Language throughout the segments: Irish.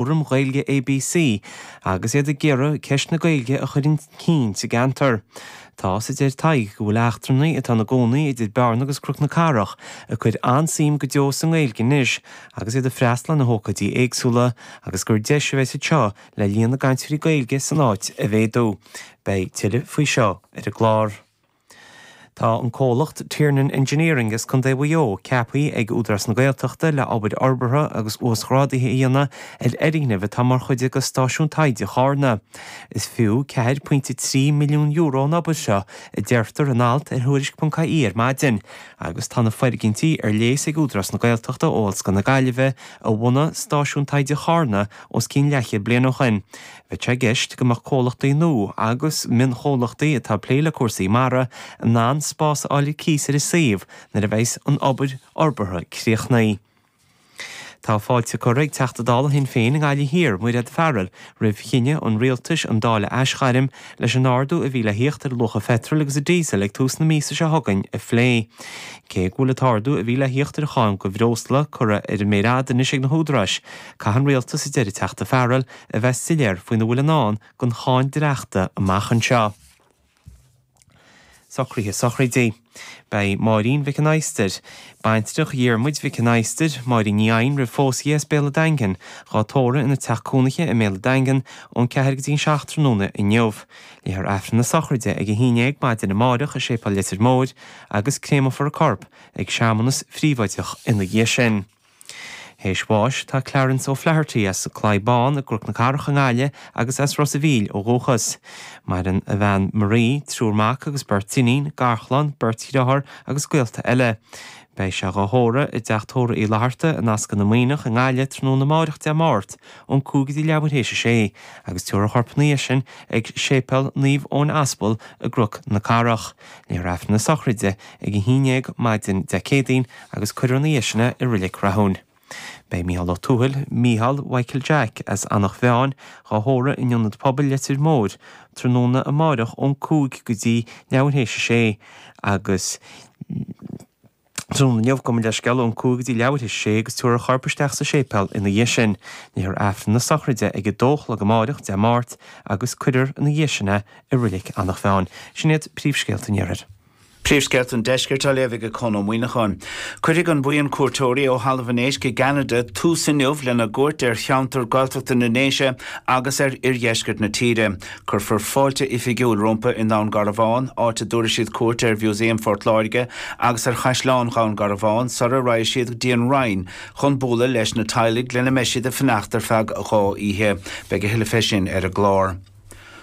Fhóram Gaeilge ABC agus iad ag iarraidh ceist na Gaeilge a chur chun cinn sa gceantar. Tá a deir Tadhg go bhfuil eachtrannaigh atá ina gcónaí idir Bearna agus Cnoc na Cathrach ag cur an-suim go deo sa nGaeilge anois agus iad ag freastal ar na hócáidí éagsúla agus gur deis a bheas anseo le líon na gcainteoirí Gaeilge san áit a mhéadú. Beidh tuilleadh faoi seo ar an gclár. Tá an comhlacht Tiernan Engineering as Contae Mhaigh Eo ceaptha ag Údarás na Gaeltachta le obair fhorbartha agus uasghrádaithe a dhéanamh ar fhoirgneamh atá mar chuid de Stáisiún Taighde Chárna. Is fiú €4.3 milliún an obair seo, a deirtear in alt ar Thuairisc.ie ar maidin, agus tá na foirgintí ar léas ag Údarás na Gaeltachta ó Ollscoil na Gaillimhe, a bhunaigh Stáisiún Taighde Charna os cionn leathchéad bliain ó shin. Bheadh sé i gceist go mbeadh comhlachtaí nua agus mionchomhlachtaí atá ag plé le cúrsaí mara in ann spás a fháil ar cíos ar an suíomh nuair a bheas an obair fhorbartha críochnaithe. Tá fáilte curtha ag Teachta Dála Shinn Féin i nGaillimh Thiar, Mairéad Farrell, roimh chinneadh an Rialtais an Dáil a aisghairm leis an ardú a bhí le thíocht ar luach an pheitril agus an díosail ag tús na míosa seo chugainn a phlé. Cé go bhfuil an t-ardú a bhí le thíocht ar an cháin do bhreosla curtha ar an méar fhada anois ag na húdaráis, caithfidh an Rialtas, a deir an Teachta Farrell, a bheith soiléir faoina bhfuil i ndán don cháin dleachta amach anseo. Socruithe sochraide. Beidh Máirín Mhic an Adhastair, baintreach Dhiarmuid Mhic an Adhastair, Máirín Ní Eidhin roimh phósadh í as Béal an Daingin, dhá tórramh ina teach cónaithe i mBéal an Daingin ón 4 go dtí an 7 tráthnóna inniu. Léifear Aifreann na sochraide ag 11 maidin amáireach i Séipéal Leitir Móir agus créamfar a corp ag searmanas phríobháideach ina dhiaidh sin. Théis bháis tá Clarence O'Flaherty as an Claí Bán i gCnoc na Cathrach i nGaillimh agus as Ros a' Mhíl ó dhúchas. Maireann a bhean Marie, triúr mac agus beirt iníon, garchlann, beirt dhriotháir agus gaolta eile. Beidh sé dhá thórramh i dTeach Tórraimh Uí Fhlatharta in Ascaill na Maoineach i nGaillimh tráthnóna amáireach Dé Máirt ón 5 go dtí leathuair théis a sé agus tabharfar a chorp ina dhiaidh sin ag Séipéal Naomh Eoin Aspal i gCnoc na Cathrach. Léifear Aifreann na sochraide ag 11 maidin Dé Céadaoin agus cuirfear ina dhiaidh sin é i Reilig Rathúin. Beidh Micheál Ó Tuathail, Mícheál Mhichael Jack, as Eanach Mheáin, dhá thórramh in Ionad Pobail Leitir Móir tráthnóna amáireach ón 5 go dtí leathuair théis a sé agus tráthnóna inniu, gabh mo leithscéal, ón 5 go dtí leathuair théis a sé agus tabharfar a chorp isteach sa séipéal ina dhiaidh sin. Léifear Aifreann na sochraide ag 2 a chlog amáireach, Dé Máirt, agus cuirfear ina dhiaidh sin é i Reilig Eanach Mheáin. Sin iad príomhscéalta an Iarthair. Príomhscéalta an Deiscirt á léamh ag Conn Ó Muíneacháin. Cuirfidh an buíon cuairteoirí ó Thalamh an Éisc i gCeanada tús inniu lena gcuairt ar cheantar Gaeltachta na nDéise agus ar oirdheisceart na tíre. Cuirfear fáilte oifigiúil rompu i nDún Garbhán, áit a dtabharfaidh siad cuairt ar Mhúsaem Phort Láirge agus ar Chaisleán Dhún Garbhán sara raghaidh siad go dtí an Rinn chun bualadh leis na teaghlaigh lena mbeidh siad ag fanacht ar feadh 2 oíche. Beidh a thuilleadh fé sin ar an gclár.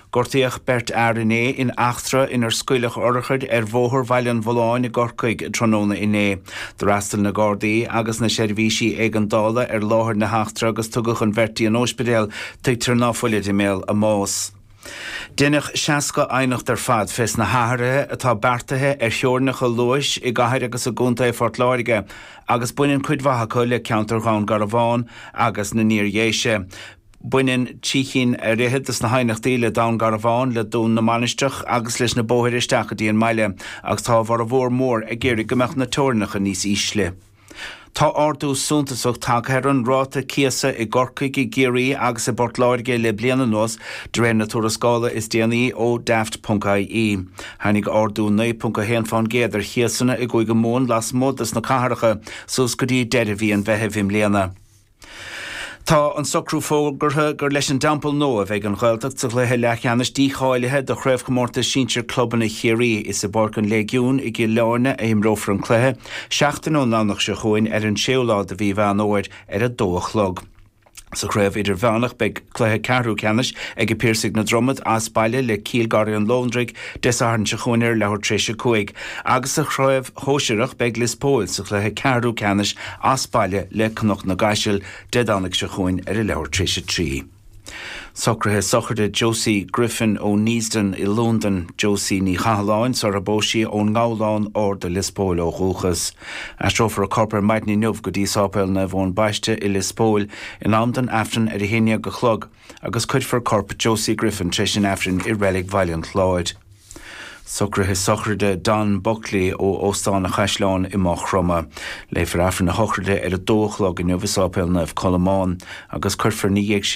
Gortaíodh beirt fhear inné in eachtra inar scaoileadh urchair ar Bhóthar Bhaile an Bhulláin i gCorcaigh tráthnóna inné. D'fhreastail na Gardaí agus na seirbhísí éigeandála ar láthair na heachtra agus tugadh an bheirt dtí an óispidéal, tuigtear ná fuilid i mbéal a mbás. Deineadh 60 aighneacht ar fad fés na hathruithe atá beartaithe ar theorainneacha luais i gcathair agus i gcontae Phort Láirge agus baineann cuid mhaith acu le ceantar Dhún Garbhán agus na nIar-Dhéise. Baineann trí chinn ar fhichead de na haighneachtaí le Dún Garbhán, le Dún na Mainistreach agus leis na bóithre isteach go dtí an mbaile agus tá a bhformhór mór ag iarraidh go mbeadh na teorainneacha níos ísle. Tá ardú suntasach tagtha ar an ráta cíosa i gCorcaigh, i gCiarraí agus i bPort Láirge le bliain anuas, de réir na tuarascála is déanaí ó Daft.ie. Tháinig ardú 9.1 fán gcéad ar chíosanna i gCúige Mumhan lasmuigh de na cathracha suas go dtí deireadh mhí an Mheithimh i mbliana. Tá an socrú fógartha gur leis an dTeampall Nua a bheidh an Ghaeltacht sa chluiche leathcheannais dícháilithe do Chraobhchomórtas Sinsir Clubanna Chiarraí. Is i bPáirc an Léigiúin i gCill Airne a imreofar an cluiche, seachtain ón nDomhnach seo chugainn ar an séú lá de mhí Mheán Fhómhair ar a dó a chlog. Sa chraobh idirmheánach beidh cluiche ceathrú ceannais ag Piarsaigh na Dromad as baile le Cill Garraí an Lóndraigh Dé Sathairn seo chugainn ar leathuair tar éis a 5 agus sa chraobh shóisearach beidh Lios Póil sa chluiche ceathrú ceannais as baile le Cnoc na gCaiseal Dé Domhnaigh seo chugainn ar a leathuair tar éis a 3. Socruithe sochraide Josie Griffin ó Neasden i Londain, Josie Ní Chathalláin, sar a bpós sí ón nGabhlán Ard i Lios Póil ó dhúchas. Aistreofar a corp ar maidin inniu go dtí Sáipéal Naomh Eoin Baiste i Lios Póil in am don Aifreann ar a haon dhéag a chlog agus cuirfear corp Josie Griffin tar éis an Aifrinn i Reilig Bhaile an Chláir. Socruithe sochraide Don Buckley ó Óstán an Chaisleáin i Maigh Chromtha. Léifear Aifreann na sochraide ar a dó a chlog inniu i Sáipéal Naomh Colmán agus cuirfear ina dhiaidh sin.